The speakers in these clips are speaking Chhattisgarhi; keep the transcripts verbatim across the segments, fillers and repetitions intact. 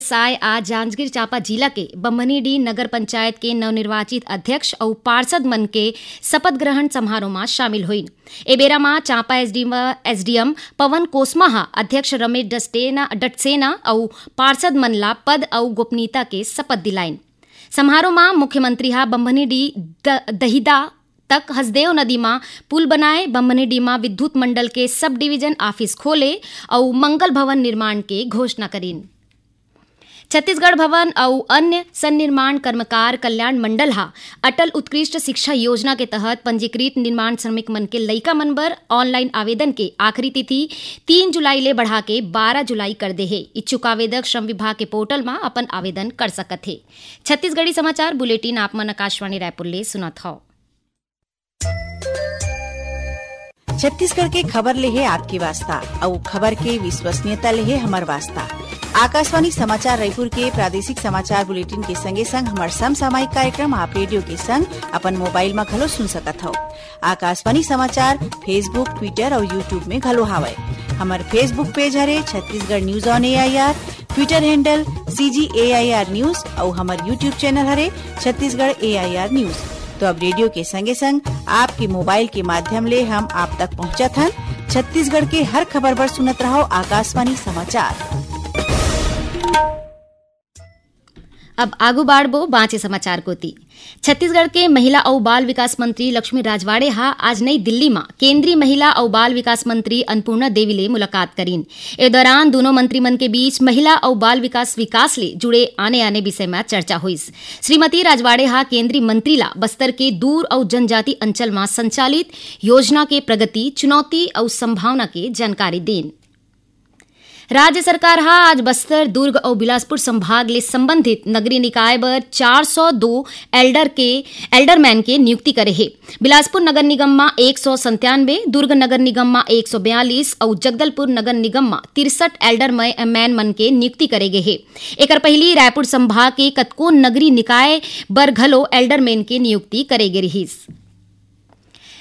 साय आज जांजगीर चांपा जिला के बम्हनीडीह नगर पंचायत के नवनिर्वाचित अध्यक्ष अउ पार्षद मन के शपथ ग्रहण समारोह म शामिल होइन। ए बेरा म चांपा एसडीएम, एसडीएम पवन कोसमा ह अध्यक्ष रमेश डस्टेना, डटसेना अउ पार्षद मन ला पद अउ गोपनीयता के शपथ दिलाइन। समारोह म मुख्यमंत्री ह बम्हनीडीह द-, दहिदा तक हसदेव नदी म पुल बनाए, बम्हनीडीह म विद्युत मंडल के सब डिवीजन ऑफिस खोले अउ मंगल भवन निर्माण के घोषणा करिन। छत्तीसगढ़ भवन अउ अन्य सन्निर्माण कर्मकार कल्याण मंडल ह अटल उत्कृष्ट शिक्षा योजना के तहत पंजीकृत निर्माण श्रमिक मन के लइका मन बर ऑनलाइन आवेदन के आखिरी तिथि तीन जुलाई ले बढ़ा के बारह जुलाई कर दे हे। इच्छुक आवेदक श्रम विभाग के पोर्टल म अपन आवेदन कर सकत हे। छत्तीसगढ़ी समाचार बुलेटिन आप मन आकाशवाणी रायपुर ले सुनत हव। छत्तीसगढ़ के खबर ले हे आपके वास्ता, अउ खबर के विश्वसनीयता ले हे हमर वास्ता। आकाशवाणी समाचार रायपुर के प्रादेशिक समाचार बुलेटिन के संगे संग हमर समसामयिक कार्यक्रम आप रेडियो के संग अपन मोबाइल म घलो सुन सकत हव। आकाशवाणी समाचार Facebook, Twitter अउ YouTube में घलो हावय। हमर Facebook पेज हरे Chhattisgarh news on AIR, Twitter handle CG AIR news अउ हमर YouTube चैनल हरे छत्तीसगढ़ एआईआर न्यूज। तो अब रेडियो के संगे संग आपके मोबाइल के माध्यम ले हम आप तक पहुंचत हन। छत्तीसगढ़ के हर खबर बर सुनत रहव आकाशवाणी समाचार। अब आगू बाढ़बो बांचे समाचार कोती। छत्तीसगढ़ के महिला अउ बाल विकास मंत्री लक्ष्मी राजवाड़े हा आज नई दिल्ली म केंद्रीय महिला अउ बाल विकास मंत्री अन्नपूर्णा देवी ले मुलाकात करीन। ए दौरान दूनों मंत्री मन के बीच महिला अउ बाल विकास, विकास ले जुड़े आने-आने विषय म चर्चा होइस। श्रीमती राजवाड़े हा केंद्रीय मंत्री ला बस्तर के दूर अउ जनजाति अंचल म संचालित योजना के प्रगति, चुनौती अउ संभावना के जानकारी दीन। राज्य सरकार हा आज बस्तर, दुर्ग अउ बिलासपुर संभाग ले संबंधित नगरीय निकाय बर चार सौ दो एल्डर के, एल्डरमैन के नियुक्ति करे हे। बिलासपुर नगर निगम म एक सौ संतानवे, दुर्ग नगर निगम म एक सौ बयालीस अउ जगदलपुर नगर निगम म तिरसठ एल्डरमैन मन के नियुक्ति करे गे हे। एकर पहिली रायपुर संभाग के कतको नगरीय निकाय बर घलो एल्डरमैन के नियुक्ति करे गे रिहिस।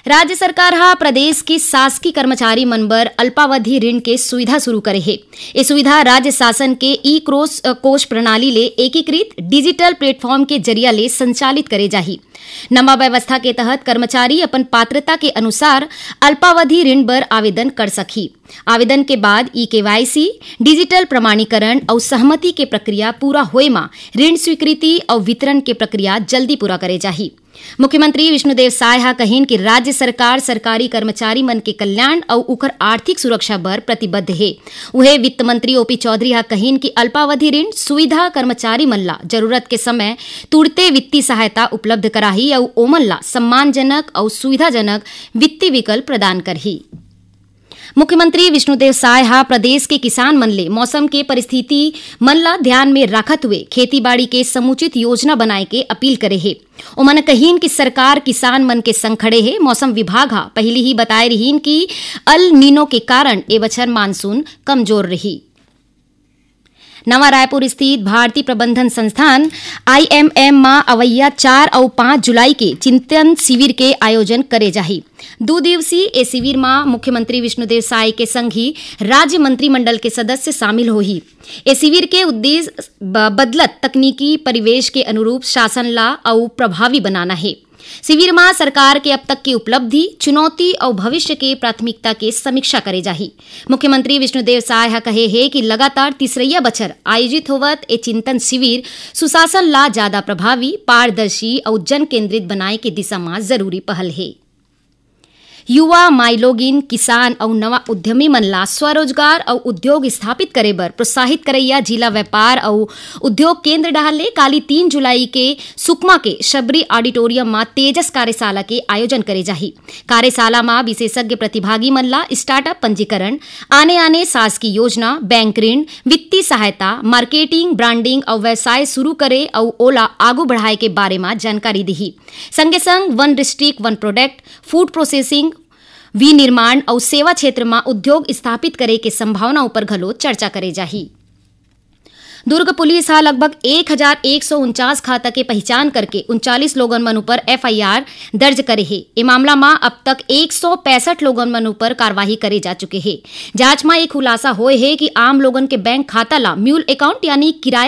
राज्य सरकार हा प्रदेश के शासकीय कर्मचारी मन बर अल्पावधि ऋण के सुविधा शुरू करे हे। ये सुविधा राज्य शासन के ई क्रोस, अ, कोष प्रणाली ले एकीकृत डिजिटल प्लेटफॉर्म के जरिया ले संचालित करे जाही। नवा व्यवस्था के तहत कर्मचारी अपन पात्रता के अनुसार अल्पावधि ऋण बर आवेदन कर सकही। आवेदन के बाद ई केवाईसी, डिजिटल प्रमाणीकरण अउ सहमति के प्रक्रिया पूरा होए म ऋण स्वीकृति अउ वितरण के प्रक्रिया जल्दी पूरा करे जाही। मुख्यमंत्री विष्णुदेव साय हा कहिन कि राज्य सरकार सरकारी कर्मचारी मन के कल्याण अउ उखर आर्थिक सुरक्षा बर प्रतिबद्ध हे। उहे वित्त मंत्री ओपी चौधरी हा कहिन कि अल्पावधि ऋण सुविधा कर्मचारी मन ला जरूरत के समय तुरते वित्तीय सहायता उपलब्ध कराही अउ ओमन ला सम्मानजनक अउ सुविधाजनक वित्तीय विकल्प प्रदान करही। मुख्यमंत्री विष्णुदेव साय हा प्रदेश के किसान मन ले मौसम के परिस्थिति मन ला ध्यान में राखत हुए खेती बाड़ी के समुचित योजना बनाए के अपील करे हे। ओमन कहिन कि सरकार किसान मन के संग खड़े हे। मौसम विभाग हा पहिली ही बताए रिहिन कि अल नीनो के कारण ए बछर मानसून कमजोर रही। नवा रायपुर स्थित भारतीय प्रबंधन संस्थान, आईएमएम, म अवैया चार अउ पाँच जुलाई के चिंतन शिविर के आयोजन करे जाही। दू दिवसीय ए शिविर म मुख्यमंत्री विष्णुदेव साय के संग ही राज्य मंत्रिमंडल के सदस्य शामिल होही। ए शिविर के उद्देश्य ब-, बदलत तकनीकी परिवेश के अनुरूप शासन ला अउ प्रभावी बनाना हे। शिविर म सरकार के अब तक के उपलब्धि, चुनौती अउ भविष्य के प्राथमिकता के समीक्षा करे जाही। मुख्यमंत्री विष्णुदेव साय ह कहे हे कि लगातार तीसरइया बछर आयोजित होवत ए चिंतन शिविर सुशासन ला जादा प्रभावी, पारदर्शी अउ जन केंद्रित बनाए के दिशा म जरूरी पहल हे। युवा, माईलोगिन, किसान अउ नवा उद्यमी मन ला स्वरोजगार अउ उद्योग स्थापित करे बर प्रोत्साहित करइया जिला व्यापार अउ उद्योग केंद्र डहार ले काली तीन जुलाई के सुकमा के शबरी ऑडिटोरियम म तेजस कार्यशाला के आयोजन करे जाही। कार्यशाला म विशेषज्ञ प्रतिभागी मन ला स्टार्टअप पंजीकरण, आने-आने शासकीय योजना, बैंक ऋण, वित्तीय सहायता, मार्केटिंग, ब्रांडिंग अउ व्यवसाय शुरू करे अउ ओला आगू बढ़ाए के बारे म जानकारी दिही। संगे संग वन डिस्ट्रिक्ट, वन प्रोडक्ट, फूड प्रोसेसिंग, विनिर्माण अउ सेवा क्षेत्र म उद्योग स्थापित करे के संभावना ऊपर घलो चर्चा करे जाही। दुर्ग पुलिस ह लगभग एक हजार एक सौ उनचास खाता के पहिचान करके उनचालीस लोगन मन ऊपर एफआईआर दर्ज करे हे। ए मामला म अब तक एक सौ पैंसठ लोगन मन ऊपर कार्रवाई करे जा चुके हे। जांच म ए खुलासा होए हे कि आम लोगन के बैंक खाता ला म्यूल अकाउंट यानी किराया